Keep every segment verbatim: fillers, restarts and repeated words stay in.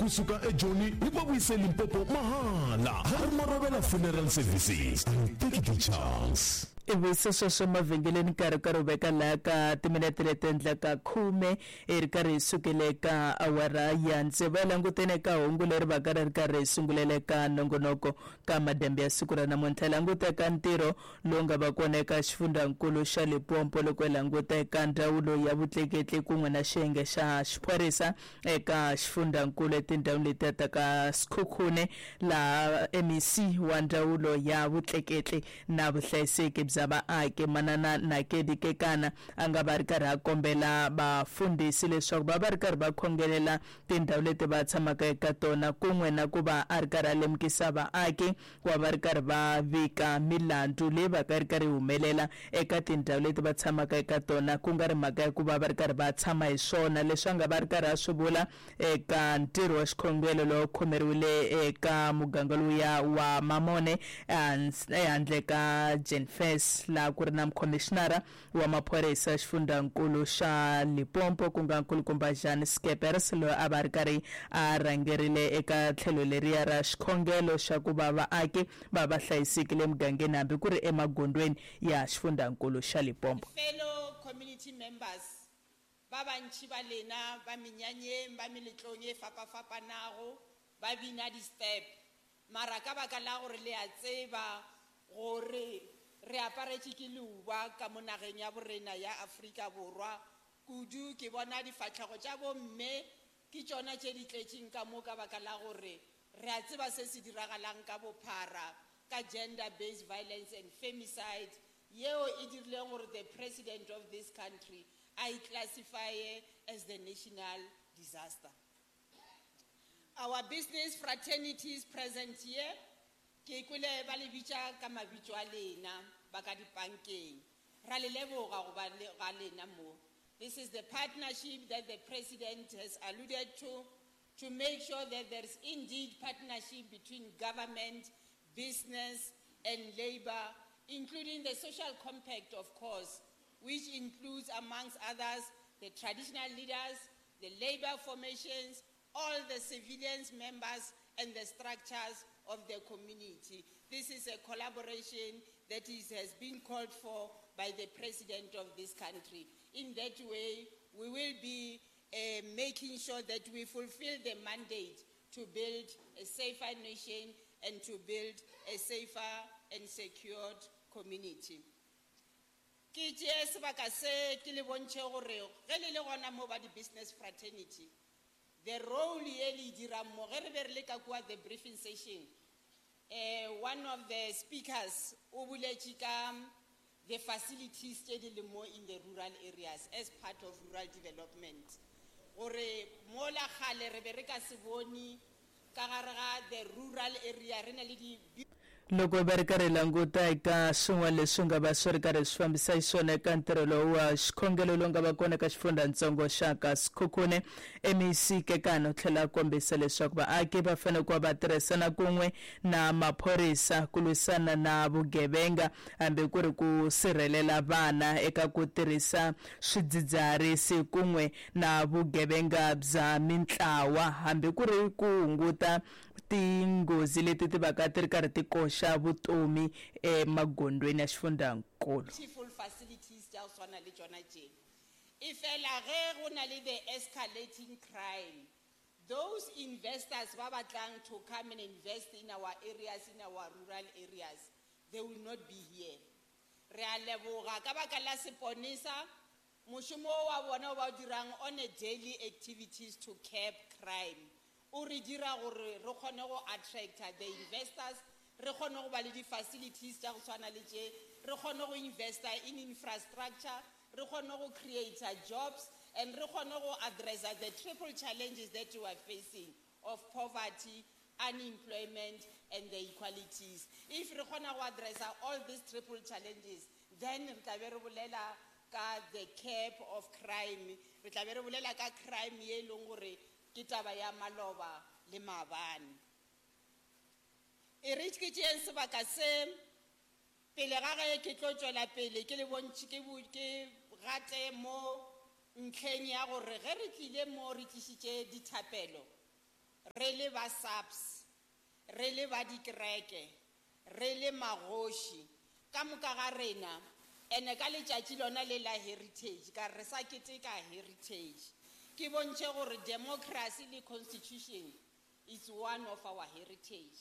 Kusuka eJoni hi va vuyise Limpopo mahala. Harry Marobela Funeral Services. Take the chance. Ivi sweswo mavhengeleni nkarhi karhi u veka laha ka timinete leti endlaka khume i ri karhi hi sukele ka awara ya tsevu ya langutene ka hungu leri va ka ri ri karhi hi sungulele ka nongonoko ka madembe ya siku ra namuntlha. Languta eka ntirho lowu nga va kona eka xifundzankulu xa Limpopo loko hi languta eka ndzawulo ya vutleketli kun'we na xiyenge xa xiphorisa eka xifundzankulu etindhawini letiya ta ka Sekhukhune, laha M E C wa ndzawulo ya vutleketli na vuhlayiseki bya vaaki Manana Nakedi Kekana a nga va ri karhi a kombela vafundhisi leswaku va va ri karhi va khongelela tindhawu leti va tshamaka eka tona kun'we na ku va a ri karhi a lemukisa vaaki ku va va ri karhi va vika milandzu leyi va ka ri karhi humelela eka tindhawu leti va tshamaka eka tona, ku nga ri mhaka ya ku va va ri karhi va tshama hi swona. Leswi a nga va ri karhi a swi vula eka ntirho wa xikhongelo lowu khomeriwile eka muganga lowuya wa Mamone ehandle ka Jenfes, laha ku ri na mukhomishinara wa maphorisa xifundzankulu xa Limpopo ku nga nkulukumba Jan Skeppers, loyi a va ri karhi a rhangerile eka tlhelo leriya ra xikhongelo xa ku va vaaki va va hlayisekile emugangeni hambi ku ri emagondzweni ya xifundzankulu xa Limpopo. Fellow community members ba bantši ba lena ba menyanyeng ba meletlong e fapafapanago ba bina di-step, mara ka baka la gore le a tseba gore re aparetše ke leuba ka mo nageng ya borena ya Afrika Borwa kudu. Ke bona difahlego tša bomme ke tšona tše di tletšeng ka mo ka baka la gore re a tseba se se diragalang ka bophara ka gender based violence and femicide yeo e dirileng gore the president of this country a e classify as the national disaster. Our business fraternities present here, ke kwele ba le bitša ka mabitso a lena ba ka dipankeng, ra le leboga go ba le ga lena mo. This is the partnership that the president has alluded to, to make sure that there is indeed partnership between government, business and labor, including the social compact, of course, which includes, amongst others, the traditional leaders, the labor formations, all the civilians members and the structures of the community. This is a collaboration that is, has been called for by the president of this country. In that way, we will be, uh, making sure that we fulfill the mandate to build a safer nation and to build a safer and secured community. Ke tšee sebaka se ke le bontšhe gore ge le le gona mo ba di-business fraternity, the role ye le e dirang mo, ge re be re le ka kua the briefing session, eh, one of the speakers o boletše ka the facilities tše di leng mo in the rural areas as part of rural development. Gore mola kgale re be re ka se bone ka gare ga the rural area re na le di Loko va ri karhi languta eka swin'wana leswi nga va swi ri karhi swi fambisa xiswona eka ntirho lowu wa xikhongelo lowu nga va kona eka xifundzatsongo xa ka Sekhukhune, M E C Kekana u tlhela a kombisa leswaku vaaki va fanele ku va va tirhisana kun'we na maphorisa ku lwisana na vugevenga hambi ku ri ku sirhelela vana eka ku tirhisa swidzidziharisi kun'we na vugevenga bya mintlawa hambi ku ri ku hunguta tinghozi leti ti vaka ti ri karhi ti koxa vutomi emagondzweni ya xifundzankulu. Beautiful facilities tša go swana le tšona tše. E fela ge go na le the escalating crime, those investors ba batlang to come and invest in our areas, in our rural areas, they will not be here. Re a leboga ka baka la seponesa, mošomo wa bona o ba o dirang on a daily activities to curb crime. O re dira gore re kgone go attracta the investors, re kgone go ba le di-facilities tša go tshwana le tše, re kgone go investa in infrastructure, re kgone go create jobs, and re kgone go addressa the triple challenges that we are facing of poverty, unemployment, and the inequalities. If re kgona go addressa all these triple challenges, then re tla be re bolela ka the cap of crime, re tla be re bolela ka crime ye e leng gore ke taba ya maloba le maabane. E re ke tšeeng sebaka se pele ga ge ke tlo tšwela pele ke le bontšhe ke bo-, ke gate mo ntlheng ya gore ge re tlile mo re tlišitše dithapelo, re Re le ba SAPS, re le ba dikereke, re le magoši, ka moka ga rena, ene ka letšatši lona le la heritage, ka re sa keteka heritage. Ke bontšhe gore democracy le constitution is one of our heritage.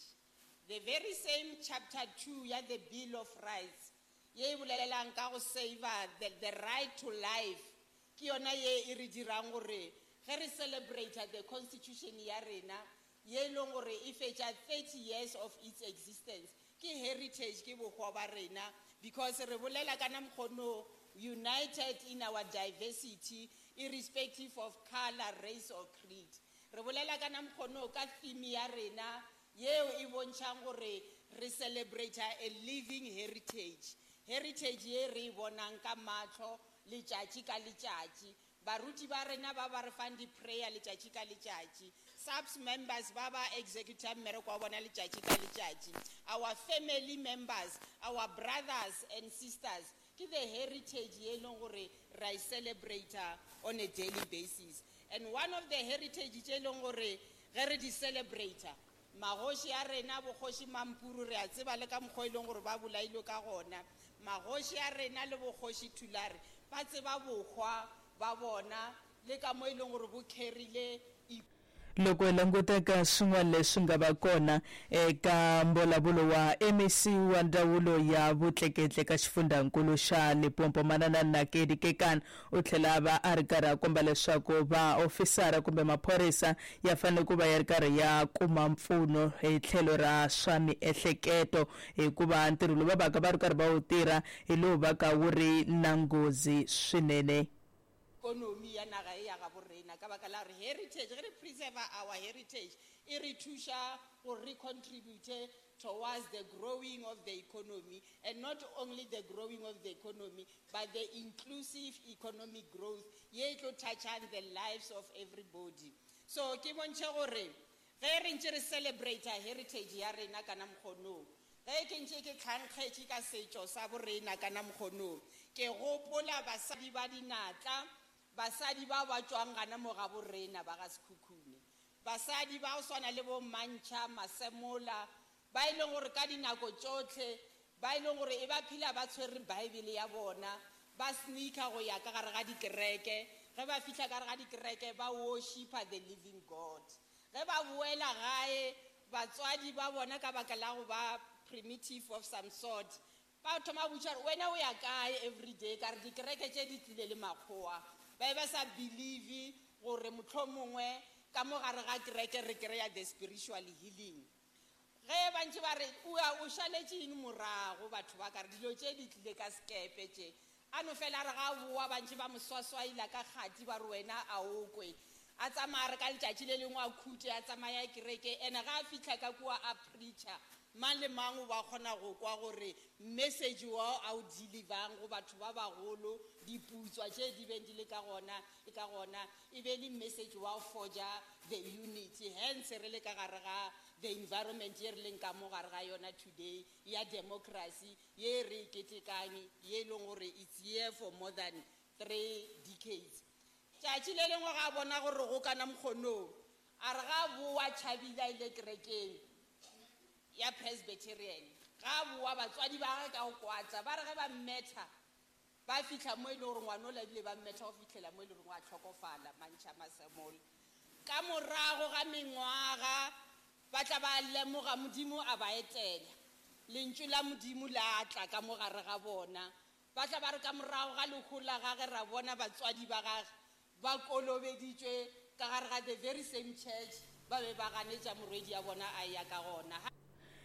The very same chapter two ya the Bill of Rights, ye e bolelelang ka go save the, the right to life, ke yona ye e re dirang gore ge re celebrate the constitution ya rena, ye e leng gore e fetša thirty years of its existence, ke heritage, ke bohwa ba rena, because re bolela ka namkgono united in our diversity, irrespective of color, race or creed. Re bolela ka namkgono ka theme ya rena yeo e bontšhang gore re celebrate a living heritage. Heritage ye re e bonang ka mahlo letšatši ka letšatši. Baruti ba rena ba ba re fang di-prayer letšatši ka letšatši. SAPS members ba ba executang mmereko wa bona letšatši ka letšatši. Our family members, our brothers and sisters, ke the heritage ye e leng gore ra e celebrate on a daily basis. And one of the heritage tše e leng gore ge re di celebrate, magoši a rena bogoši Mampuru re a tseba le ka mokgwa e leng gore ba bolailwe ka gona. Magoši a rena le bogoši Thulare ba tseba bohwa ba bona le ka mo e leng gore bo carry-ile. Loko hi languta ka swin'wana leswi nga va kona eka mbulavulo wa M E C wa ndzawulo ya vutleketli ka xifundzankulu xa Limpopo Manana Nakedi Kekana, u tlhela a va a ri karhi a komba leswaku vaofisara kumbe maphorisa ya fanele ku va ya ri karhi ya kuma mpfuno hi tlhelo ra swa miehleketo, hikuva ntirho lowu va vaka va ri karhi va wu tirha hi lowu va ka wu ri na nghozi swinene. Economy ya naga e ya ga borena ka baka la gore heritage, ge re preserve our heritage, e re thuša gore re contribute towards the growing of the economy, and not only the growing of the economy, but the inclusive economic growth ye e tlo touchang the lives of everybody. So ke bontšhe gore ge re ntše re celebrate heritage ya rena kana mokgonong, ge ke ntše ke tlhankgetše ka setšo sa borena kana mokgonong, ke gopola basadi ba dinatla, basadi ba ba tšwang gana mo ga borena ba ga Sekhukhune, basadi ba go swana le bo Mantšha Masemola, ba e leng gore ka dinako tšohle ba e leng gore e ba phela ba tshwere Bible ya bona, ba sneaker go ya ka gare ga dikereke. Ge ba fihla ka gare ga dikereke ba worshipa the living God. Ge ba boela gae, batswadi ba bona ka baka la go ba primitive of some sort, ba thoma botša gore wena o ya kae everyday, ka re dikereke tše di tlile le makgowa. Ba e ba sa believe gore mohlomongwe ka mo gare ga kereke re kry-a the spiritual healing. Ge ba ntše ba re o o šaletše eng morago, batho ba ka re dilo tše di tlile ka sekepe tše. A no fela re ga boa ba ntše ba mo swaswaila ka kgati ba re wena a o kwe. A tsamaya re ka letšatši le lengwe a khute a tsamaya kereke, ene ga a fihla ka kua a preacher, mang le mang o ba kgona go kwa gore message wa a o deliverang go batho ba bagolo, diputswa tše di beng di le ka gona, e ka gona e be le message wa go forja the unity. Hence re le ka gare ga the environment ye re leng ka mo gare ga yona today ya democracy ye re e ketekang, ye e leng gore it's here for more than three decades. Tšatši le lengwe ga a bona gore go kana mokgonong, a re ga boa tšhabile a ile kerekeng ya Presbyterian, ga boa batswadi ba gagwe ka go kwatla, ba re ge ba mmetha ba fihla mo e leng gore ngwana o labile ba mmetha go fihlela mo e leng gore wa tlhokofala Mantšha Masemola. Ka morago ga mengwaga ba tla ba lemoga Modimo a ba etela, lentšu la Modimo la tla ka mo gare ga bona. Ba tla ba re ka morago ga lehu la gagwe ra bona batswadi ba gagwe ba kolobeditšwe ka gare ga the very same church ba be ba ganetša morwedi ya bona a ya ka gona.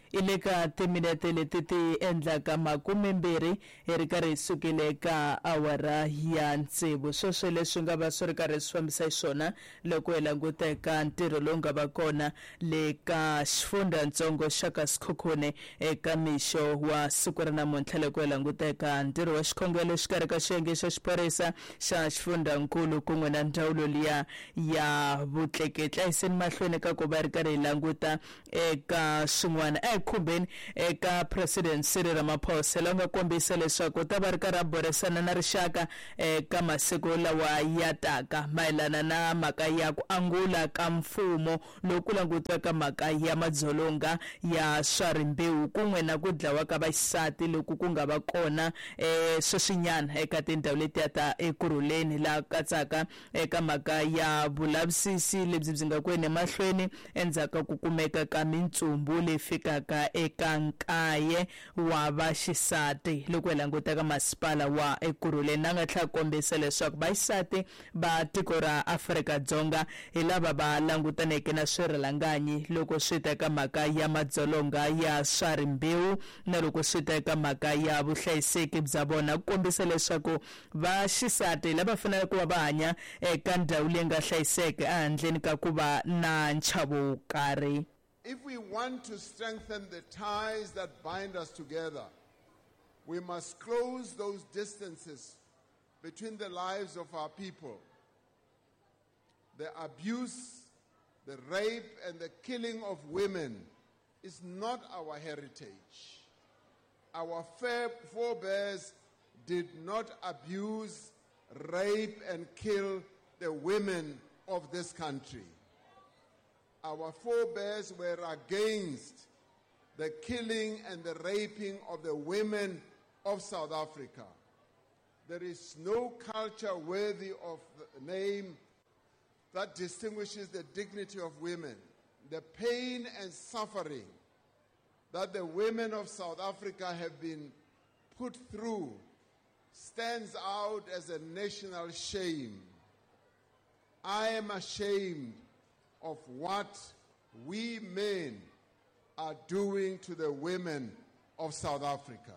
E le ka timinete leti ti endlaka makumembirhi hi ri karhi hi sukile ka awara ya tsevu. Sweswo leswi nga va swi ri karhi swi fambisa xiswona loko hi languta eka ntirho lowu nga va kona le ka xifundzatsongo xa ka Sekhukhune eka mixo wa siku ra namuntlha, loko hi languta eka ntirho wa xikhongelo exikarhi ka xiyenge xa xiphorisa xa xifundzankulu kun'we na ndzawulo liya ya vutleketli. A yiseni mahlweni ka ku va ri karhi hi languta eka swin'wana. hi khumbeni eka President Cyril Ramaphosa la nga kombisa leswaku ta va ri karhi a burisana na rixaka eka masiku lawa ya taka mayelana na mhaka ya ku angula ka mfumo loku langutiwaka mhaka ya madzolonga ya swa rimbewu kun'we na ku dlawa ka vaxisati loku ku nga va kona eh sweswinyana eka tindhawu letiya ta Ekurhuleni, laha katsaka eka mhaka ya vulavisisi lebyi byi nga ku yeni emahlweni endzhaku ka ku kumeka ka mintsumbu leyi fikaka eka nkaye wa vaxisati loko hi languta ka masipala wa Ekurhuleni. Na nga tlhela kombisa leswaku vaxisati va tiko ra Afrika-Dzonga hi lava va langutaneke na swirhalanganyi loko swi ta eka mhaka ya madzolonga ya swa rimbewu na loko swi ta eka mhaka ya vuhlayiseki bya vona, ku kombisa leswaku vaxisati lava faneleke ku va va hanya eka ndhawu leyi nga hlayiseka ehandleni ka ku va na nchavo wo karhi. If we want to strengthen the ties that bind us together, we must close those distances between the lives of our people. The abuse, the rape, and the killing of women is not our heritage. Our forebears did not abuse, rape, and kill the women of this country. Our forebears were against the killing and the raping of the women of South Africa. There is no culture worthy of the name that distinguishes the dignity of women. The pain and suffering that the women of South Africa have been put through stands out as a national shame. I am ashamed of what we men are doing to the women of South Africa.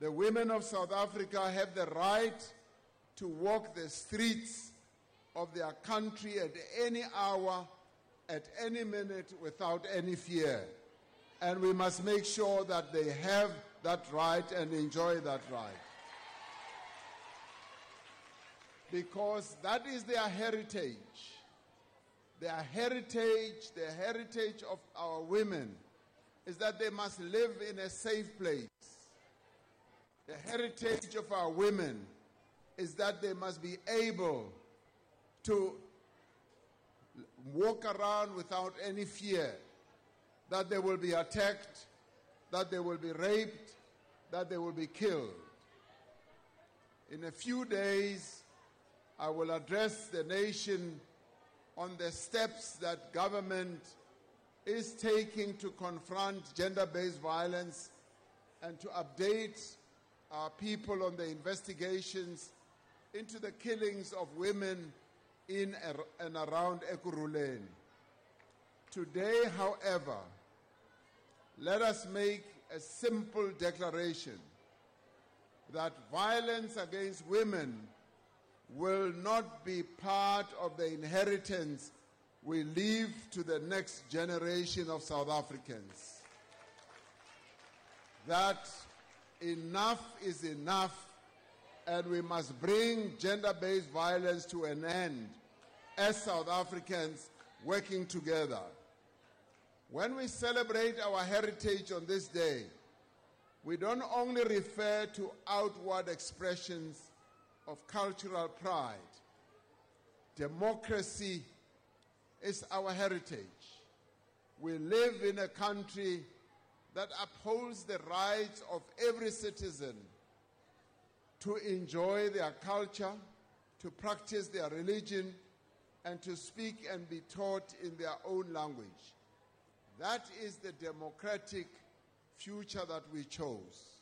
The women of South Africa have the right to walk the streets of their country at any hour, at any minute, without any fear. And we must make sure that they have that right and enjoy that right. Because that is their heritage. Their heritage, the heritage of our women, is that they must live in a safe place. The heritage of our women is that they must be able to walk around without any fear that they will be attacked, that they will be raped, that they will be killed. In a few days, I will address the nation on the steps that government is taking to confront gender-based violence and to update our people on the investigations into the killings of women in and around Ekurhuleni. Today, however, let us make a simple declaration that violence against women will not be part of the inheritance we leave to the next generation of South Africans. That enough is enough, and we must bring gender-based violence to an end as South Africans working together. When we celebrate our heritage on this day, we don't only refer to outward expressions of cultural pride. Democracy is our heritage. We live in a country that upholds the rights of every citizen to enjoy their culture, to practice their religion, and to speak and be taught in their own language. That is the democratic future that we chose.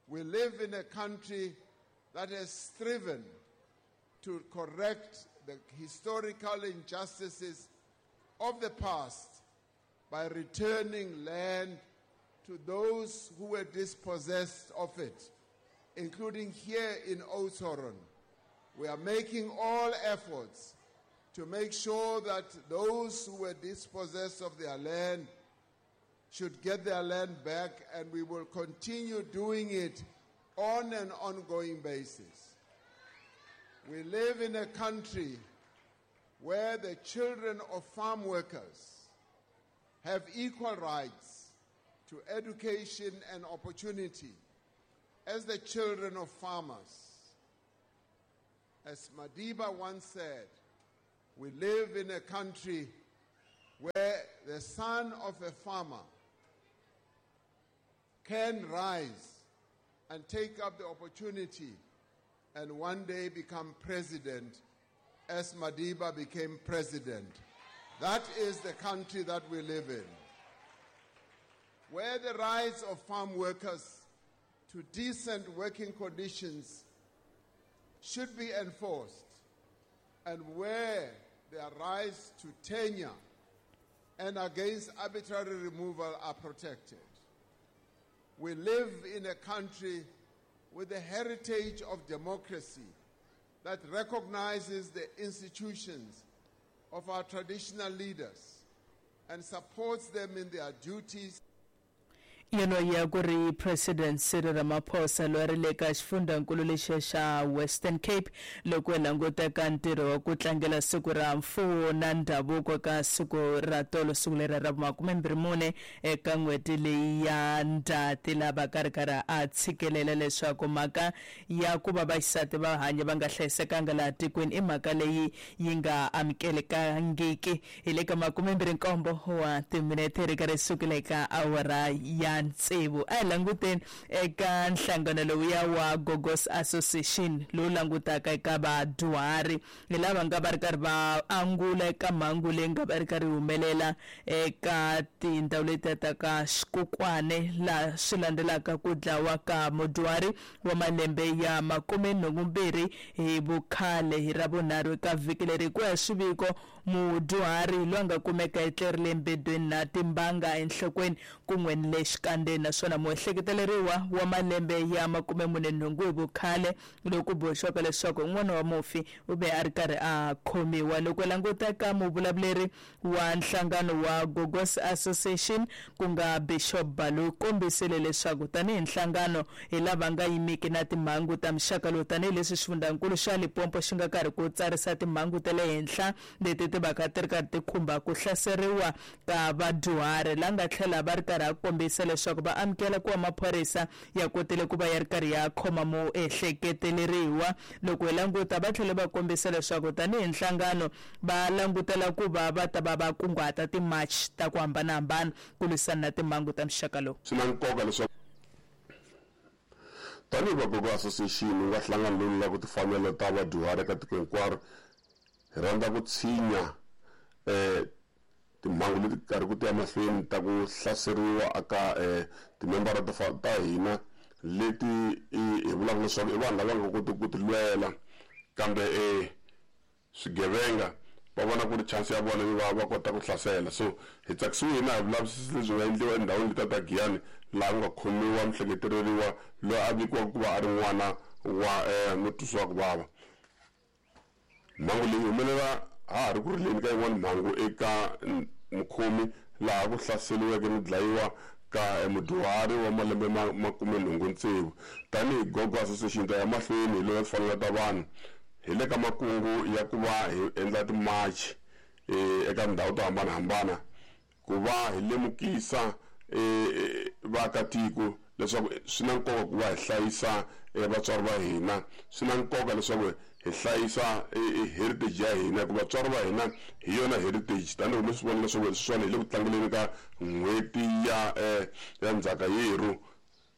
We live in a country that has striven to correct the historical injustices of the past by returning land to those who were dispossessed of it, including here in Oudtshoorn. We are making all efforts to make sure that those who were dispossessed of their land should get their land back, and we will continue doing it on an ongoing basis. We live in a country where the children of farm workers have equal rights to education and opportunity as the children of farmers. As Madiba once said, we live in a country where the son of a farmer can rise and take up the opportunity and one day become president, as Madiba became president. That is the country that we live in, where the rights of farm workers to decent working conditions should be enforced, and where their rights to tenure and against arbitrary removal are protected. We live in a country with a heritage of democracy that recognizes the institutions of our traditional leaders and supports them in their duties. Yeno ya ku ri President Cyril Ramaphosa loyi a ri le ka xifundzhankulu lexiya xa Western Cape loko hi languta ka ntirho wa ku tlangela siku ra mfuwo na ndhavuko ka siku ra tolo, siku leri ra makumembirhi mune eka n'hweti leyi ya Ndzhati, laha ka ri karhi a tshikelela leswaku mhaka ya ku va vaxisati va hanya va nga hlayisekanga laha tikweni i mhaka leyi yi nga amukelekangiki. Hi le ka makumembirhi nkombo wa timinete ri karhi sukela eka awara ya tsevu. A hi languteni eka nhlangano lowuya wa Gogos Association lowu langutaka eka vadyuhari, hi lava nga va ri karhi va angula eka mhangu leyi nga va ri karhi humelela eka tindhawu letiya ta ka Xikukwane, laha swi landzelaka ku dlawa ka mudyuhari wa malembe ya makume nhungu mbirhi hi vukhale hi Ravunharhu eka vhiki leri. Ku ya swiviko, mudyuhari loyi a nga kumeka etlerile embedweni na timbanga enhlokweni kun'we ni le xikandeni, naswona muehleketeleriwa wa malembe ya makume mune nhungu hi vukhale loku ku boxiwaka leswaku un'wana wa mufi u ve a ri karhi a khomiwa. Loko languta ka muvulavuleri wa nhlangano wa Gogos Association ku nga Bishop Balu, kombisile leswaku tanihi nhlangano hi lava nga yimiki na timhangu ta muxaka lowu, tanihileswi xifundzankulu xa Limpopo xi nga karhi ku tsarisa timhangu ta le henhla leti ti vaka ti ri karhi ti khumba ku hlaseriwa ka vadyuhari, la nga tlhela va ri karhi a kombisa leswaku va amukela ku va maphorisa ya kotile ku va ya ri karhi ya khoma muehleketeleriwa. Loko hi languta, va tlhele va kombisa leswaku tanihi nhlangano va langutela ku va va ta va va kunguhata ti-march ta ku hambanahambana ku lwisana na timhangu ta muxaka lowu. Swi na nkoka leswaku tanihi va Gogo Association wu nga hlangano lowu lwelaka timfanelo ta vadyuhari eka tiko hinkwaro, hi rhandza ku tshinya um timhangu leti karhi ku tiya mahlweni ta ku hlaseriwa aka um timembara ta hina leti hi vulaka leswaku i vanhu lava nga kotiki ku ti lwela, kambe um swigevenga va vona ku ri chance ya vona yo va va kota ku hlasela. So hi tsakisiwe hina hi vulavisisi lebyi nga endliwa endhawini letiya ta Giyani, laha ku nga khomiwa muhleketeleriwa loyi a vikiwaka ku va a ri n'wana wa um mutwisiwa ku vava. Mhangu leyi humelela ha ha ri ku rileni ka yin'wana mhangu eka mukhomi laha ku hlaseriweke no dlayiwa ka mudyuhari wa malembe ma makume nhungu tsevu. Tanihi Gogo Association ta ya mahlweni hi lwela timfanelo ta vanhu, hi le ka makungu ya ku va hi endla timachi eka tindhawu to hambanahambana ku va hi lemukisa vaakatiko leswaku swi na nkoka ku va hi hlayisa vatswari va hina, swi na nkoka leswaku hi hlayisa heritage ya hina, hikuva vatswari va hina hi yona heritage. Tanihi mi swi vona leswaku sweswiwani hi le ku tlangeleni ka n'hweti ya ya ndzhaka yerhu,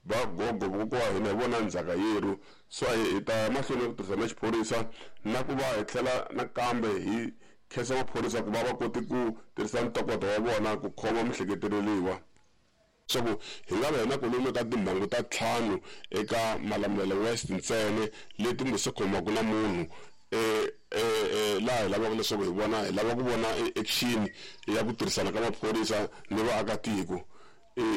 vagogo vakokwa wa hina hi vona ndzhaka yerhu. So hi ta ya mahlweni ku tirhisa na xiphorisa na ku va hi tlhela nakambe hi khensa maphorisa ku va va kote ku tirhisa ntokoto wa vona ku khoma muhleketeleriwa. Leswaku hi nga va hi na kwalomu ka timhangu ta ntlhanu eka Malamulele West ntsena leti nga se khomaka na munhu eh eh laha hi lavaka leswaku hi vona hi lava ku vona action ya ku tirhisana ka maphorisa ni vaakatiko.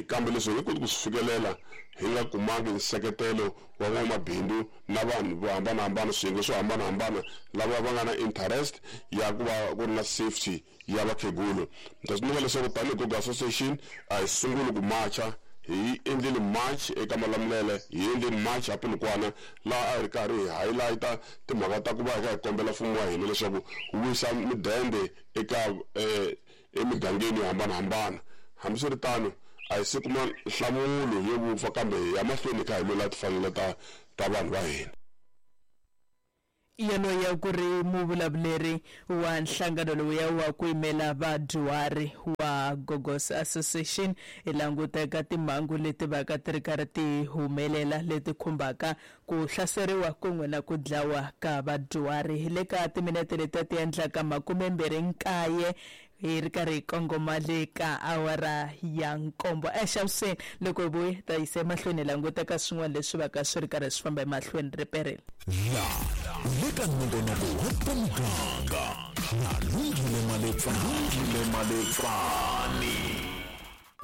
Kambe leswi hi nge koti ku swi fikelela hi nga kumangi nseketelo wa van'wamabindzu na vanhu vo hambanahambana, swiyenge swo hambanahambana lava va nga na interest ya ku va ku ri na safety ya vakhegulu. Ni ta tsundzuka leswaku tanihi Gogo Association a hi sunguli ku macha, hi endlile march eka Malamulele, hi endlile march a Polokwane, laha a hi ri karhi hi highlight-a timhaka ta ku va hi kha hi kombela mfumo wa hina leswaku wu wisa mudende eka emigangeni yo hambanahambana. Hambiswiritano a hi se kuma nhlamulo yo vupfa, kambe hi ya mahlweni kha hi lwela timfanelo ta ta vanhu va hina. Yaloye ku ri muvulavuleri wa nhlangano lowuya wa ku yimela vadyuhari wa Gogos Association hi languta eka timhangu leti vaka ti ri karhi ti humelela leti khumbaka ku hlaseriwa kun'we na ku dlawa ka vadyuhari. Hi le ka timinete leti ti endlaka makumembirhi nkaye hi ri karhi hi kongoma le ka awara ya nkombo. Exavuxeni loko hi vuya ta yisa emahlweni hi languta ka swin'wana leswi vaka swi ri karhi swi famba emahlweni riperile. La le ka nongonoko wa ta muganga na Lungile Maletsani Maletsani.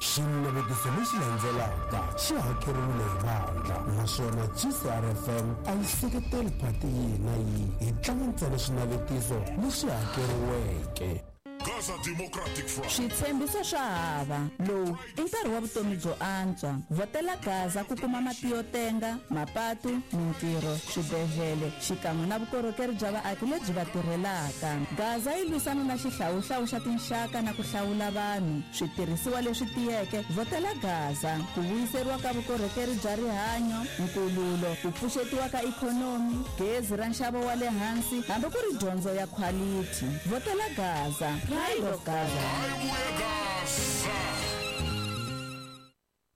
Xinavetiso lexi landzelaka xi hakeriwile hi vandla, naswona G C R F M a yi seketeli phati yihi na yihi, hi tlanga ntsena swinavetiso leswi hakeriweke. Gaza Democratic Front. Switshembiso swa hava. Lowu i nkarhi wa vutomi byo antswa. Vhotela Gaza ku kuma mati yo tenga, mapatu, mintirho, swibedhlele, xikan'we na vukorhokeri bya vaaki lebyi va tirhelaka. Gaza yi lwisana na xihlawuhlawu xa tinxaka na ku hlawula vanhu. Switirhisiwa leswi tiyeke, vhotela Gaza. Ku vuyiseriwa ka vukorhokeri bya rihanyo, nkululo, ku pfuxetiwa ka ikhonomi, gezi ra nxavo wa le hansi, hambi ku ri dyondzo ya quality. Vhotela Gaza. Pride of Gaza.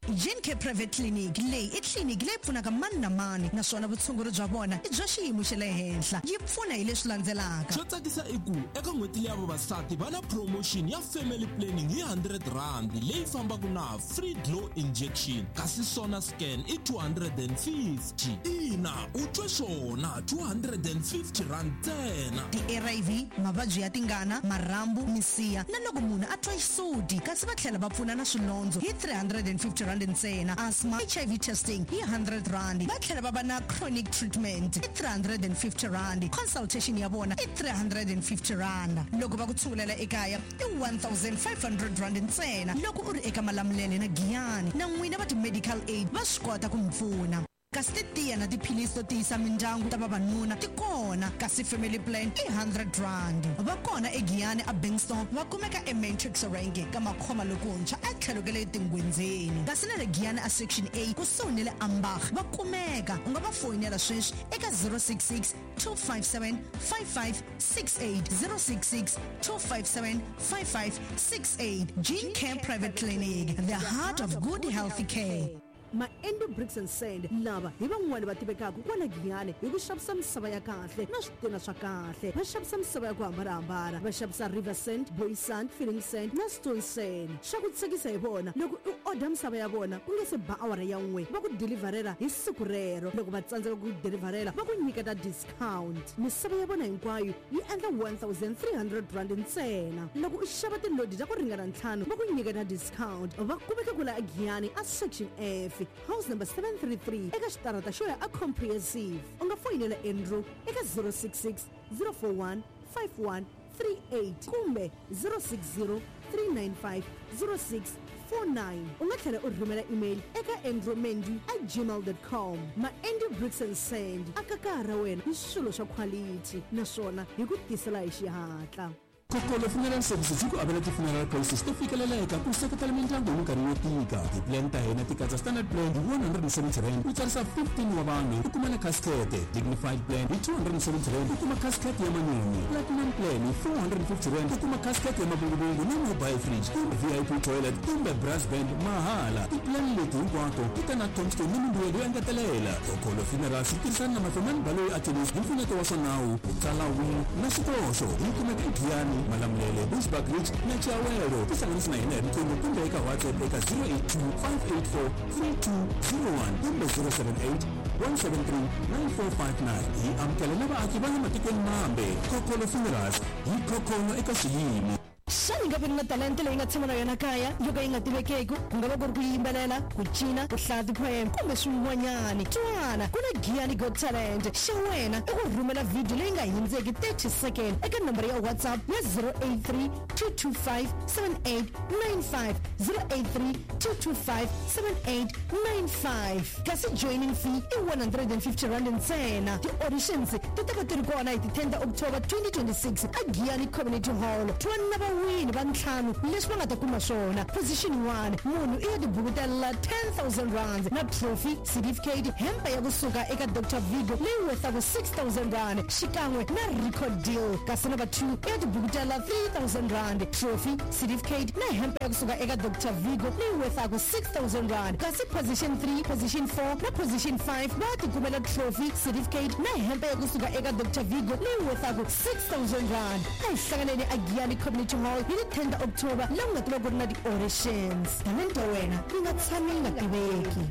G N K Private Clinic leyi i tliliniki leyi pfunaka mani na mani, naswona vutshunguri bya vona i bya xiyimo xa le henhla. Yi pfuna hi leswi landzelaka. Xo tsakisa i ku eka n'hweti leya vavasati va na promotion ya family planning hi hundred rand leyi fambaka na free glow injection, kasi sona scan i two hundred and fifty. Ina, u twe swona, two hundred and fifty rand ntsena. Ti-R I V, mavabyi ya tingana, marhambu, misiha na loko munhu a twa xisuti, kasi va tlhela va pfuna na swilondzo hi three hundred and fifty rand ntsena. Asthma, H I V testing hi hundred rand. Va tlhela va va na chronic treatment hi three hundred and fifty rand. Consultation ya vona i three hundred and fifty rand. Loko va ku tshungulela ekaya i one thousand five hundred rand ntsena. Loko u ri eka Malamulele na Giyani na n'wina va ti-medical aid va swi kota ku mi pfuna. Kasi titiya na tiphilisi to tiyisa mindyangu ta vavanuna ti kona, kasi family plan i hundred rand. Va kona eGiyani a Bankston, va kumeka eMatrix Range ka Makhoma lokuntshwa etlhelo ka le Tingwenzeni. Kasi na le Giyani a Section A kusuhi ni le Ambach va kumeka. U nga va foyinela sweswi eka zero six six two five seven five five six eight, zero six six two five seven five five six eight. Gene Care Private Clinic, the heart of good healthy care. Maendo Bricks and Sand lava hi van'wani va tivekaka kwala Giyani hi ku xavisa misava ya kahle na switina swa kahle. Va xavisa misava ya ku hambanahambana, va xavisa river sand, boy sand, filling sand na stone sand. Swa ku tsakisa hi vona loko u order misava ya vona ku nga se ba awara ya n'we va ku deliverela hi siku rero. Loko va tsandzeka ku deliverela va ku nyiketa discount. Misava ya vona hinkwayo yi endla one thousand three hundred rand ntsena. Loko u xava tilodi ta ku ringana ntlhanu va ku nyiketa discount. Va kumeka kwala Giyani a Section F, house number seven three three eka xitarata xo ya a Comprehensive. U nga foyinela Andrew eka zero six six zero four one five one three eight kumbe zero six zero three nine five zero six four nine. U nga tlhela u rhumela email eka andrewmendy at gmail dot com. Maendo Bricks and Sand aka kaya ra wena hi swilo swa quality naswona hi ku tisela hi xihatla. Kokolo Funeral Services yi ku avela ti-funeral policies to fikeleleka ku seketela mindyangu hi minkarhi yo tika. Ti-plan ta hina ti katsa standard plan hi one hundred and seventy rand u tsarisa fifteen wa vanhu u kuma na casket, dignified plan hi two hundred and seventy rand u kuma casket ya manyunyu, platinum plan hi four hundred and fifty rand u kuma casket ya mavunguvungu na mobile fridge kumbe V I P toilet kumbe brass band mahala. Ti-plan leti hinkwato ti ta na tombstone ni mimbuyelo yo engetelela. Kokolo Funerals yi tirhisana na Mafemani Baloyi Attorneys hi mpfuneto wa swa nawu, ku tsala will na swikoxo. Yi kumeka eGiyani, Malamulele, Bushbuckridge na Chiawelo. Tihlanganisi na hina hi riqingho kumbe eka WhatsApp eka zero eight two five eight four three two zero one kumbe zero seven eight one seven three nine four five nine. Hi amukela na vaaki va le matikweni mambe. Kokolo Funerals hi khokholo eka xiyimo. Xana hi nga vi na talenta leyi nga tshama na yona kaya yo ka yi nga tivekeki? Ku nga va ku ri ku yimbelela, ku cina, ku hlaya ti-poem kumbe swin'wanyani. Twana, ku na Giyani Got Talent. Xa wena i ku rhumela video leyi nga hundzeki thirty second eka nomboro ya WhatsApp ya zero eight three two two five seven eight nine five, zero eight three two two five seven eight nine five. Kasi joining fee i one hundred and fifty rand ntsena. Ti-auditions ti ta va ti ri kona hi ti ten ta October twenty twenty-six a Giyani Community Hall. Twana va vawini va ntlhanu leswi va nga ta kuma swona. Position one, munhu i ya tibukutela ten thousand rand na trophy, certificate, hempe ya kusuka eka Doctor Vigo leyi worthaka six thousand rand xikan'we na record deal. Kasi number two i ya tibukutela three thousand rand, trophy, certificate na hempe ya kusuka eka Doctor Vigo leyi worthaka six thousand rand. Kasi position three, position four na position five va tikumela trophy, certificate na hempe ya kusuka eka Doctor Vigo leyi worthaka six thousand rand. A hi hlanganeni a Giyani Community Hall hi ti ten ta October laha ku nga ta va ku ri na ti-auditions. Talenta ya wena yi nga tshami yi nga tiveki.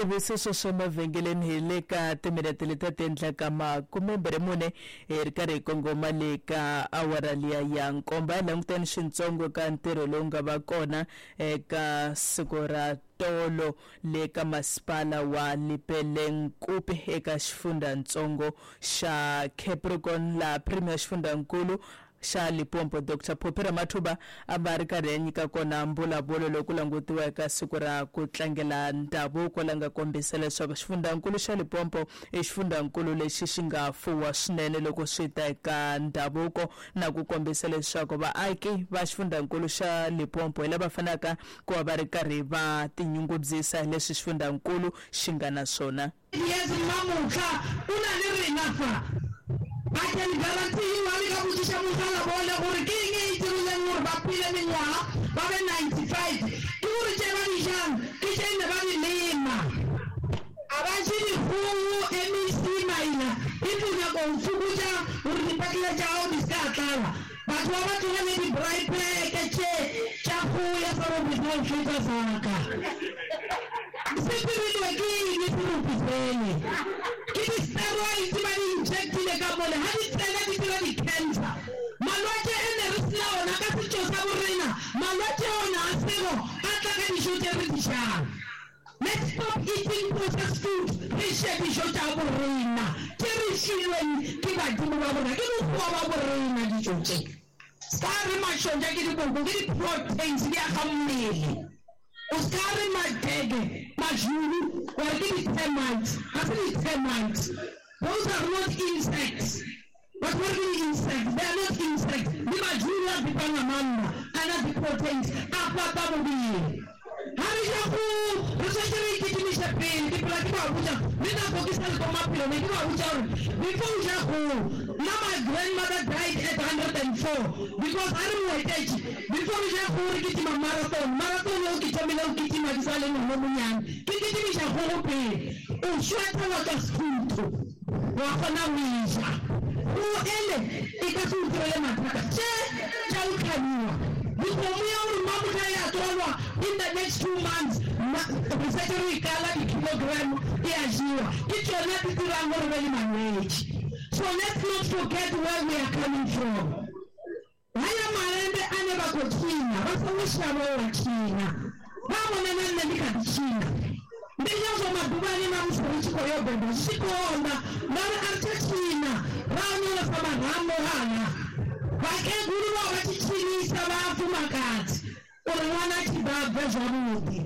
Ivi sweswo swa mavhengeleni hi le ka timinete leti ti endlaka makumembirhi mune hi ri karhi hi kongoma le ka awara liya ya nkombo. Ya languteni swintsongo ka ntirho lowu nga va kona eka siku ra tolo le ka masipala wa Lepelle-Nkumpi eka xifundzhantsongo xa Capricorn, laha Premier xifundzankulu xa Limpopo Doctor Phophi Ramathuba a va ri karhi ya nyika kona mbulavulo loku langutiwa eka siku ra ku tlangela ndhavuko, la nga kombisa leswaku xifundzankulu xa Limpopo i xifundzankulu lexi xi nga fuwa swinene loko swi ta eka ndhavuko, na ku kombisa leswaku vaaki va xifundzankulu xa Limpopo hi lava fanaka ku va va ri karhi va tinyungubyisa hi leswi xifundzankulu xi nga na swona. Yes, mamutlha u na le rena fa. I can guarantee you, ha le ka botšiša mogala bone gore ke eng e e dirileng gore ba phele mengwaga ba be ninety-five, ke gore tše ba di jang ke tše ne ba di lema. A ba je dikgogo, M E C maina if o nyaka go fokotša gore dipetlele tša gago di se ka tlala, batho ba ba tlogele di-braai pack tše tša kgogo ya serope sa go feta saka. Se dirilwe ke eng serope sele? Ke di-steroids ba di injectile ka mole, ha di tsena di dira di-cancer. Malwetse e ne re sena ona ka setšo sa borena, malwetse ona a sego a tla ka dijo tše re di jang. Let's stop eating processed food, re je dijo tša borena tše re filweng ke badimo ba borena, ke mokgwa wa borena dijo tše. Ska re mašonja ke dikoko, ke di-proteins di aga mmele. O ska re madege, majulu, wa re ke di-termites, ga se di-termites. Those are not insects. But what are the insects? They are not insects. Di majulu a bipanga manna, a na di-proteins, a fapa mobile. Ha re ja go, re tshwanetse re ikitimiše pele. Ke phela ke ba botša, le nako ke sa le ko maphelo, ne ke ba botša gore before o ja go, nna my grandmother died at hundred and four because ha re mo etetše, before re ja go re kitima marathon, marathon eo ke thomile go kitima ke sa le ngwana o monnyane, ke kitimiša kgogo pele. O sweata wa tswa sefutho, wa kgona go e ja. Go ele e ka se o direle mathata tše tša go tlhabiwa. Dikgomo ya gore mamotlha ya tswalwa in the next two months, re setse re ikala di-kilogram e a jewa, ke tšona di dirang gore be le malwetši. So let's not forget where we are coming from. Haya maembe a ne ba ko tshina, ba songo shaba wa tshina, ba bona na nne ndi kha ḓi tshina. Ndi ngazwo maḓuvhani na musi ri tshi khou yo beba zwi tshi konḓa, ngauri a ri tsha tshina, ra onyolosa marambo hana. Vhakhegulu vha vha tshi tshinisa vhafumakadzi uri ṅwana a tshi ḓa a bve zwavhuḓi.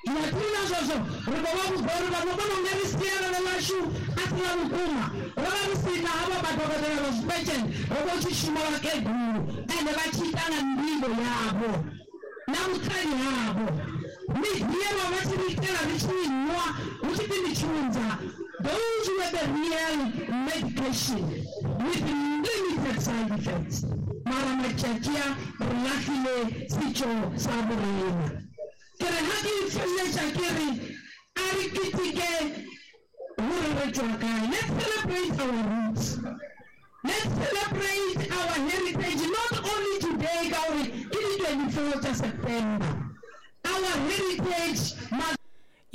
Zwino thi na zwezwo ri khou vha vhudza uri vhathu vha kona u nga ri sialala ḽashu a si ḽa vhukuma. Ro vha ri sina havha madokotela vha zwipetshele, ro vha tshi shuma vhakegulu ende vha tshi ita nga nḓivho yavho na vhuṱali havho. Miḓi vha vha tshi ri itela ri tshi nwa hu tshi pfi ndi tshunza. Those were the real medication with limited side effects. Mara matšatši a re lahlile setšo sa borena. Ke re ha ke feleletša ke re a re keteke gore re tšwa kae. Let's celebrate our roots. Let's celebrate our heritage, not only today ka gore ke di twenty-four tša September. Our heritage must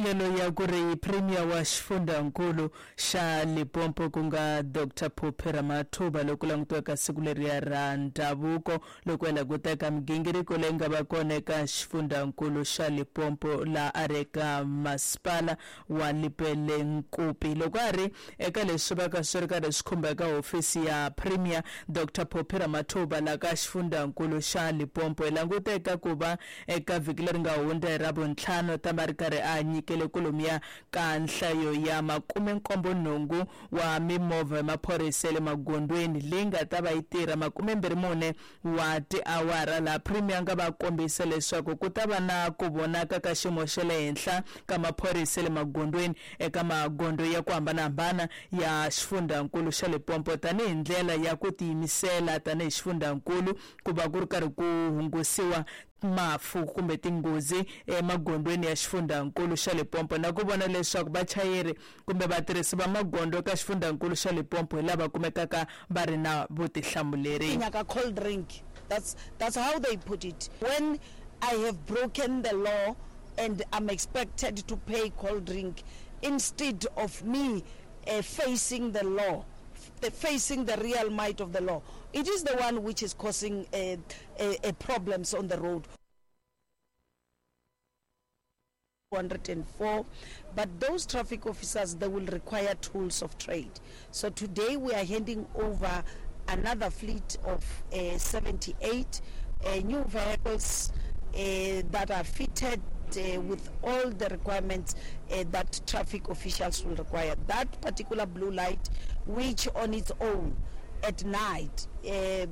yelo ya ku ri Premier wa xifundzankulu xa Limpopo ku nga Doctor Phophi Ramathuba loko langutiwaka siku leriya ra ndhavuko loko ya languteka migingiriko leyi nga va kona eka xifundzankulu xa Limpopo laha a ri eka masipala wa Lepelle-Nkumpi. Loko a ri eka leswi va ka swi ri karhi swi khumba eka hofisi ya Premier Doctor Phophi Ramathuba laha ka xifundzankulu xa Limpopo, hi languteka ku va eka vhiki leri nga hundza hi Ravuntlhanu ta va ri karhi a nyika nyikele kolomiya ka nhlayo ya makume nkombo nhungu wa mimovha ya maphorisa ya le magondweni leyi nga ta va yi tirha makume mbirhi mune wa tiawara. Laha premier nga va kombisa leswaku ku ta va na ku vonaka ka xiyimo xa le henhla ka maphorisa ya le magondweni eka magondo ya ku hambanahambana ya xifundzankulu xa Limpopo tanihi ndlela ya ku tiyimisela tanihi xifundzankulu ku va ku ri karhi ku hungusiwa mafu kumbe tinghozi emagondweni ya xifundzankulu xa Limpopo na ku vona leswaku vachayeri kumbe vatirhisi va magondo ka xifundzankulu xa Limpopo hi lava kumekaka va ri na vutihlamuleri. Nyaka cold drink. That's that's how they put it. When I have broken the law and I'm expected to pay cold drink instead of me uh, facing the law, the facing the real might of the law. It is the one which is causing uh, uh, uh, problems on the road. two hundred and four, but those traffic officers, they will require tools of trade. So today we are handing over another fleet of uh, seventy-eight uh, new vehicles uh, that are fitted uh, with all the requirements uh, that traffic officials will require. That particular blue light, which on its own at night, uh, uh,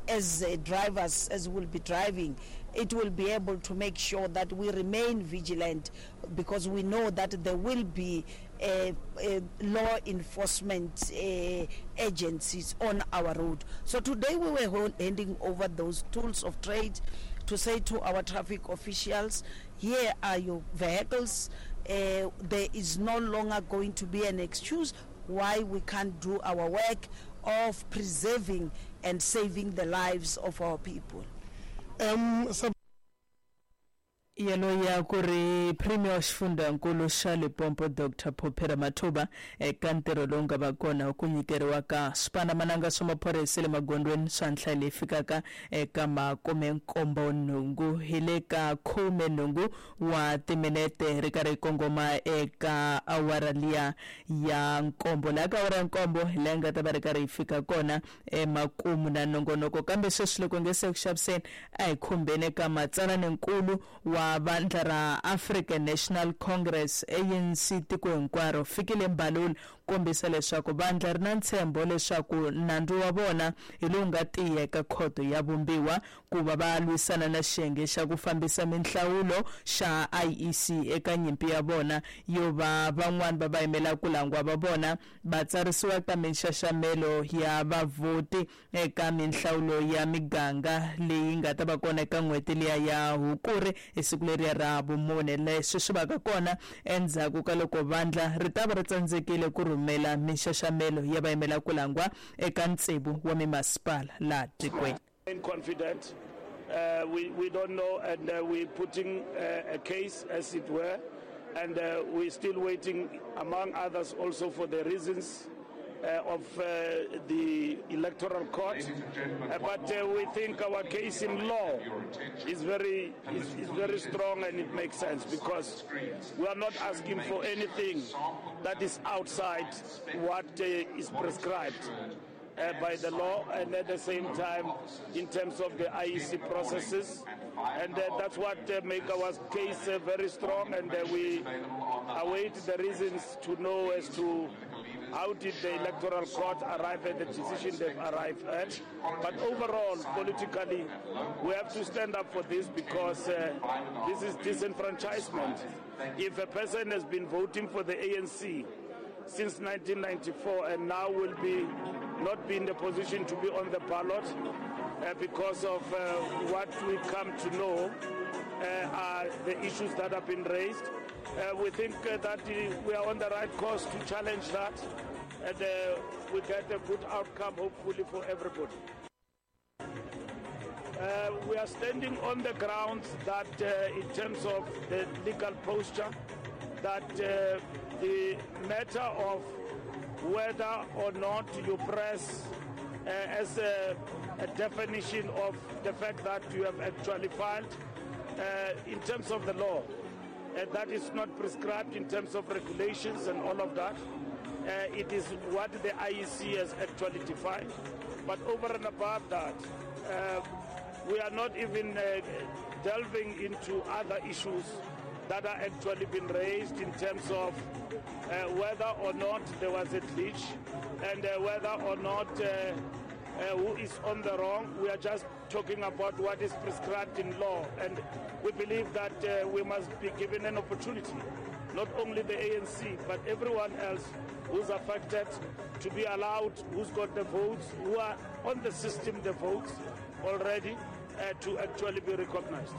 as uh, drivers, as we'll be driving, it will be able to make sure that we remain vigilant, because we know that there will be uh, uh, law enforcement uh, agencies on our road. So today we were handing over those tools of trade to say to our traffic officials, here are your vehicles. Uh, there is no longer going to be an excuse why we can't do our work of preserving and saving the lives of our people. Um, so yelo ya ku ri premier wa xifundzankulu xa Limpopo Doctor Phophi Ramathuba eka ntirho lowu nga va kona ku nyikeriwa ka swipandzamananga swa maphorisa le magondweni swa nhlayo leyi fikaka eka makume nkombo nhungu hi le ka khume nhungu wa timinete ri karhi kongoma eka awara liya ya nkombo. Laha ka awara ya nkombo hi laha nga ta va ri karhi yi fika kona emakumu na nongonoko, kambe sweswi loko nge se ku xaviseni a hi khumbeni eka matsalaninkulu wa vandla ra African National Congress A N C tiko hinkwaro Fikile Mbalula kombisa leswaku vandla ri na ntshembo leswaku nandzu wa vona hi lowu nga tiya eka khoto ya vumbiwa ku va va lwisana na xiyenge xa ku fambisa minhlawulo xa I E C eka nyimpi ya vona yo va van'wani va va yimela ku langwa va vona va tsarisiwa ka minxaxamelo ya vavhoti eka minhlawulo ya miganga leyi nga ta va kona eka n'hweti liya ya Hukuri hi siku leriya ra vumune. Leswi swi vaka kona endzhaku ka loko vandla ri ta va ri tsandzekile ku rhumela minxaxamelo ya vayimela ku langwa eka ntsevu wa mimasipala laha tikweni. Confident. Uh, we, we don't know, and uh, we're putting uh, a case, as it were, and uh, we're still waiting, among others, also for the reasons uh, of uh, the electoral court. Uh, but uh, we think our case in law is very, is, is very strong, and it makes sense, because we are not asking for anything that is outside what uh, is prescribed Uh, by the law, and at the same time in terms of the I E C processes, and uh, that's what uh, make our case uh, very strong, and uh, we await the reasons to know as to how did the electoral court arrive at the decision they've arrived at. But overall, politically, we have to stand up for this, because uh, this is disenfranchisement. If a person has been voting for the A N C since nineteen ninety-four and now will be not be in the position to be on the ballot uh, because of uh, what we come to know uh, are the issues that have been raised. Uh, we think uh, that we are on the right course to challenge that, and uh, we get a good outcome, hopefully, for everybody. Uh, we are standing on the grounds that uh, in terms of the legal posture, that uh, the matter of whether or not you press uh, as a, a definition of the fact that you have actually filed, uh, in terms of the law, uh, that is not prescribed in terms of regulations and all of that. Uh, it is what the I E C has actually defined. But over and above that, uh, we are not even uh, delving into other issues that are actually been raised in terms of uh, whether or not there was a glitch and uh, whether or not uh, uh, who is on the wrong. We are just talking about what is prescribed in law, and we believe that uh, we must be given an opportunity, not only the A N C, but everyone else who's affected, to be allowed, who's got the votes, who are on the system, the votes already, uh, to actually be recognized.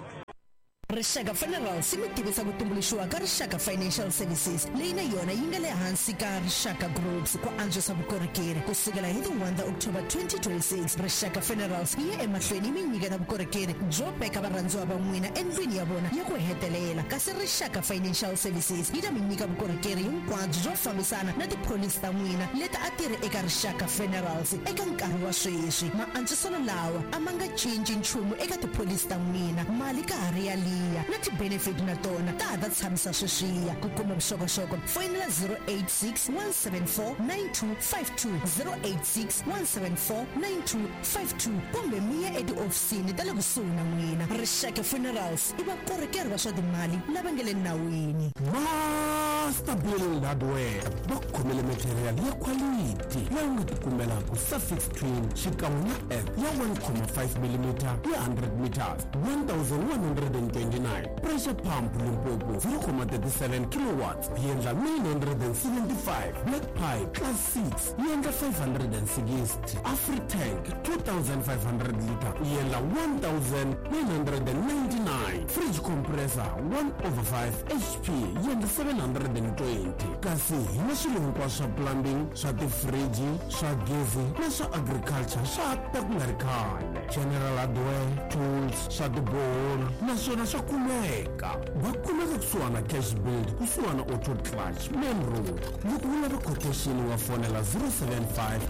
Rixaka Funerals yi mi tivisa ku tumbuluxiwa ka Rixaka Financial Services leyi na yona yi nga le hansi ka Rixaka Groups ku antswisa vukorhokeri ku sukela hi ti one October twenty twenty-six. Rixaka Funerals yi ya emahlweni yi mi nyiketa vukorhokeri byo veka varhandziwa va n'wina endlwini ya vona ya ku hetelela, kasi Rixaka Financial Services yi ta mi nyika vukorhokeri hinkwabyo byo fambisana na tipholisi ta n'wina leti a ti ri eka Rixaka Funerals eka nkarhi wa sweswi. Maantswiselo lawa a ma nga cinci nchumu eka tipholisi ta n'wina, mali ka ha ri yaliya na ti-benefit na tona ta ha ta tshamisa sweswiya. Ku kuma vuxokoxoko foyinela zero eight six one seven four nine two five two, zero eight six one seven four nine two five two, kumbe mi ya etihofisini ta le kusuhi na n'wina. Rixaka Funerals i vakorhokeri va swa timali lava nga le nawini. Master Build Hardware va khomele material ya quality leyi u nga tikumelaka suffix twin xikan'we na F ya one comma five millimeter ya hundred meters, one thousand one hundred and twenty-nine. Pressure pump Limpopo zero comma thirty-seven kilowatts yi endla nine hundred and seventy-five. Black pipe class six yi endla five hundred and sixty. Afritank two thousand five hundred liter yi endla one thousand nine hundred and ninety-nine. Fridge compressor one over five H P yi endla seven hundred and twenty. Kasi hi na swilo hinkwaswo swa plumbing, swa tifriji, swa gezi na swa agriculture swa ta ku nga ri khale. General hardware, tools, swa tiboholo naswona swa kumeka. Va kumeka kusuhana Cash Build, kusuhana Auto Clutch, Main Road. Loko u lava quotation wa fonela zero seven five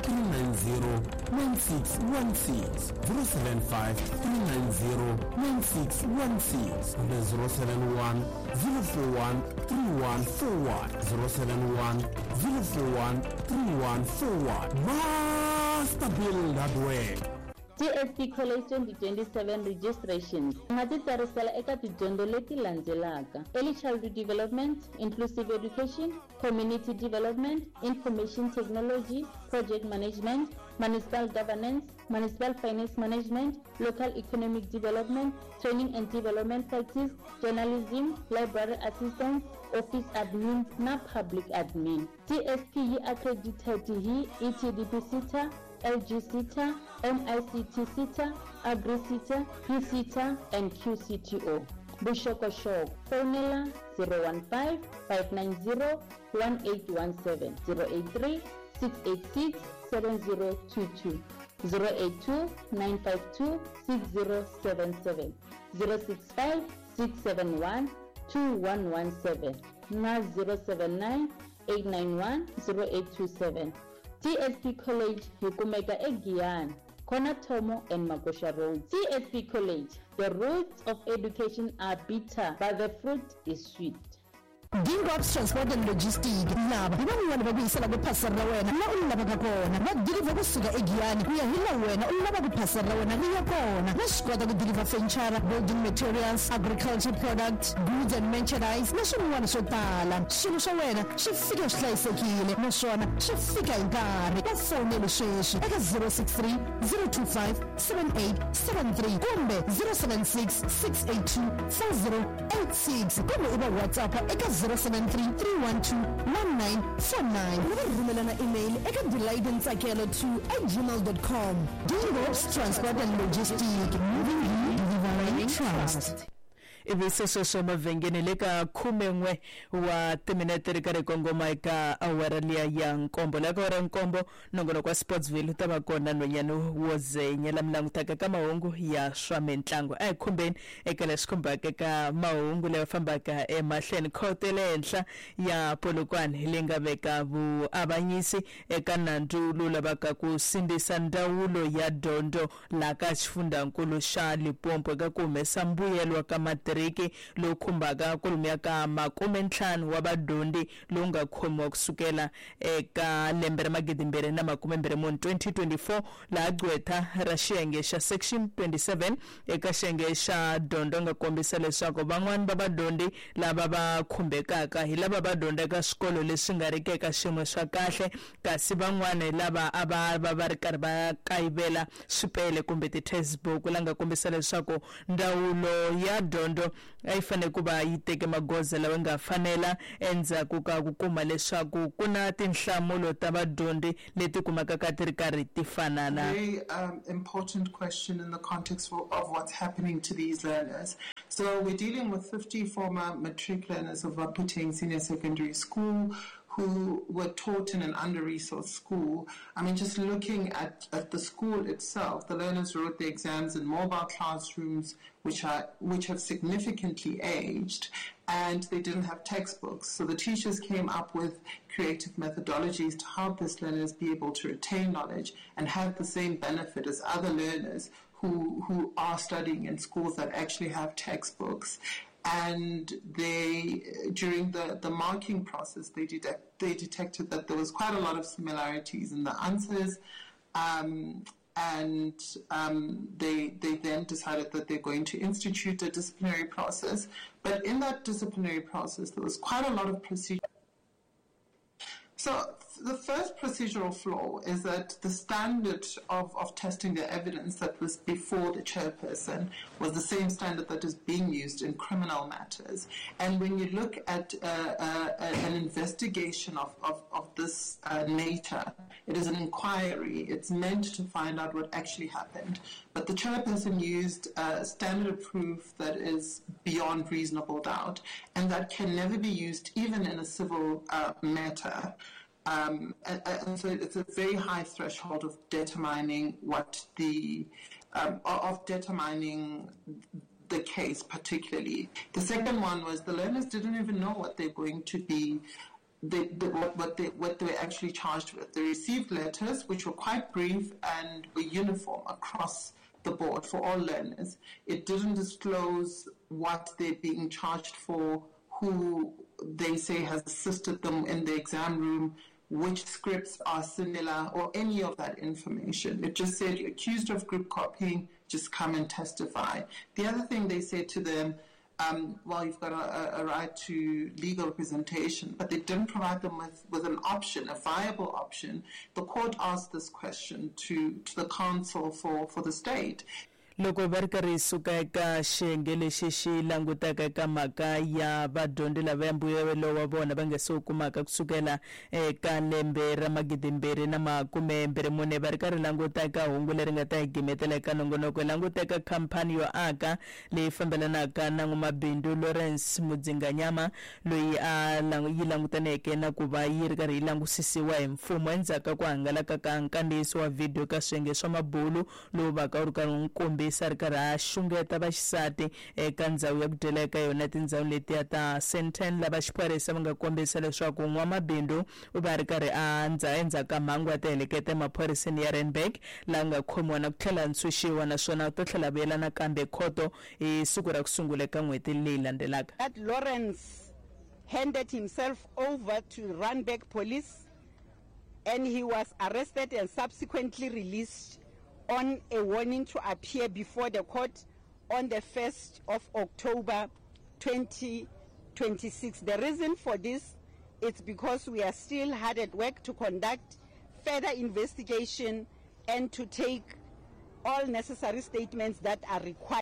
three nine zero nine six one six, zero seven five three nine zero nine six one six, kumbe zero seven one zero four one three one four one, zero seven one zero four one three one four one. Master Build Hardware. T S P College twenty twenty-seven registrations. U nga titsarisela eka tidyondzo leti landzelaka: Early Childhood Development, Inclusive Education, Community Development, Information Technology, Project Management, Municipal Governance, Municipal Finance Management, Local Economic Development, Training and Development Practice, Journalism, Library Assistance, Office Admin na Public Admin. T S P yi accredited hi E T D P SETA, L G SETA, M I C T SETA, Agri SETA, P SETA and Q C T O. Vuxokoxoko fonela zero one five five nine zero one eight one seven, zero eight three six eight six seven zero two two, zero eight two nine five two six zero seven seven, zero six five six seven one two one one seven na zero seven nine eight nine one zero eight two seven. T S P College hi kumeka eGiyani, Corner Thomo and Magosha Road. T S P College, the roots of education are bitter, but the fruit is sweet. Dingobs Transport and Logistics lava hi van'wana va ku yisela ku phasela ra wena la u lavaka kona. Va deliver kusuka eGiyani ku ya hi la wena u lavaka phasela ra wena ri ya kona. Va swi kota ku deliver furniture, building materials, agriculture products, goods and merchandise na swin'wana swo tala. Swilo swa wena swi fika swi hlayisekile naswona swi fika hi nkarhi. Va fonele sweswi eka zero six three zero two five seven eight seven three kumbe zero seven six six eight two four zero eight six kumbe u va WhatsApp eka zero seven three three one two one nine four nine. U va rhumelana email eka delightintsakelo two at gmail dot com. Dingobs Transport and Logistics, moving you, delivering trust. Ivi sweswo emavhengeni le ka khumen'we wa timinete ri karhi kongoma eka awara liya ya nkombo. La ka awara nkombo nongonoko wa Sportsville wu ta va kona nhwanyana wo zenya la mi langutaka ka mahungu ya swa mitlangu. A hi khumbeni eka leswi khumbaka eka mahungu lawa fambaka emahlweni. Khoto ya le henhla ya Polokwane leyi nga veka vuavanyisi eka nandzu lowu lavaka ku sindzisa ndzawulo ya dyondzo laha ka xifundzankulu xa Limpopo eka ku humesa mbuyelo wa ka matiriki lowu khumbaka kwalomuya ka makume ntlhanu wa vadyondzi lowu nga khomiwa kusukela eka lembe ra magidi mbirhi na makume mbirhi mune twenty twenty-four, laha gqwetha ra xiyenge xa section twenty-seven eka xiyenge xa dyondzo nga kombisa leswaku van'wani va vadyondzi lava va khumbekaka hi lava va dyondzaka swikolo leswi nga riki eka xiyimo swa kahle, kasi van'wani lava a va va va ri karhi va kayivela swipele kumbe ti-textbook, la nga kombisa leswaku ndzawulo ya dyondzo a yi fanele ku va yi teke magoza lawa nga fanela endzhaku ka ku kuma leswaku ku na tinhlamulo ta vadyondzi leti kumaka ka ti ri karhi ti fanana. Very um, important question in the context of, of what's happening to these learners. So we're dealing with fifty former matric learners of Baphutheng Senior Secondary School who were taught in an under-resourced school. I mean, just looking at, at the school itself, the learners wrote their exams in mobile classrooms, which are which have significantly aged, and they didn't have textbooks. So the teachers came up with creative methodologies to help these learners be able to retain knowledge and have the same benefit as other learners who, who are studying in schools that actually have textbooks. And they, during the, the marking process, they, detect, they detected that there was quite a lot of similarities in the answers, um, and um, they, they then decided that they're going to institute a disciplinary process. But in that disciplinary process, there was quite a lot of procedure. So the first procedural flaw is that the standard of, of testing the evidence that was before the chairperson was the same standard that is being used in criminal matters. And when you look at uh, uh, an investigation of, of, of this uh, nature, it is an inquiry. It's meant to find out what actually happened. But the chairperson used a standard of proof that is beyond reasonable doubt, and that can never be used even in a civil uh, matter. Um, and, and so it's a very high threshold of determining what the, um, of determining the case particularly. The second one was the learners didn't even know what they're going to be, they, they, what, what, they, what they were actually charged with. They received letters which were quite brief and were uniform across the board for all learners. It didn't disclose what they're being charged for, who they say has assisted them in the exam room, which scripts are similar, or any of that information. It just said, you're accused of group copying, just come and testify. The other thing they said to them, um, well, you've got a, a right to legal representation, but they didn't provide them with, with an option, a viable option. The court asked this question to, to the counsel for, for the state. Loko va ri karhi suka eka xiyenge lexi xi langutaka eka mhaka ya vadyondzi lava ya mbuyelo wa vona va nga se wu kumaka kusukela eka lembe ra magidi mbirhi na makume mbirhi mune, va ri karhi languta eka hungu leri nga ta hi gimetela eka nongonoko. Hi languta eka khampani yo aka leyi fambelanaka na n'wamabindzu Lawrence Mudzinganyama, loyi a yi langutaneke na ku va yi ri karhi yi langusisiwa hi mfumo endzhaku ka ku hangalaka ka nkandziyiso wa vhidiyo ka swiyenge swa mabulu lowu vaka wu ri karhi wu kombi ri karhi a xungeta vaxisati eka ndzhawu ya ku dyela eka yona tindhawu letiya ta Sandton, lava xiphorisa va nga kombisa leswaku n'wamabindzu u va ri karhi a ndza endzhaku ka mhangu ya tiheleketa emaphoriseni ya Randburg, laha nga khomiwa na ku tlhela ntshunxiwa, naswona u ta tlhela vuyela nakambe khoto hi siku ra ku sungula eka n'hweti leyi landzelaka. That Lawrence handed himself over to Randburg police and he was arrested and subsequently released on a warning to appear before the court on the first of October twenty twenty-six. The reason for this is because we are still hard at work to conduct further investigation and to take all necessary statements that are required.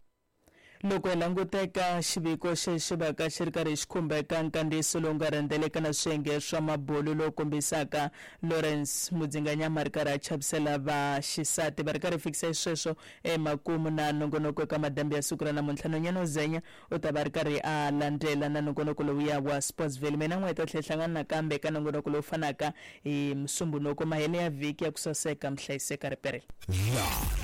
Loko hi languta eka xiviko xexi vaka xi ri karhi xi khumbeka nkandziyiso lowu nga rhendzeleka na swiyenge swa mabulu lowu kombisaka Lawrence Mudzinganyama ri karhi a chavisela vaxisati, va ri karhi fikisa xisweswo emakumu na nongonoko eka madambi ya siku ra namuntlha. Nonyana Zenya u ta va ri karhi a landzela na nongonoko lowuya wa Sportsville. Mina n'we ta tlhela hlangana nakambe eka nongonoko lowu fanaka hi Musumbhunuko mahele ya vhiki ya ku saseka mihlayiseka riperela.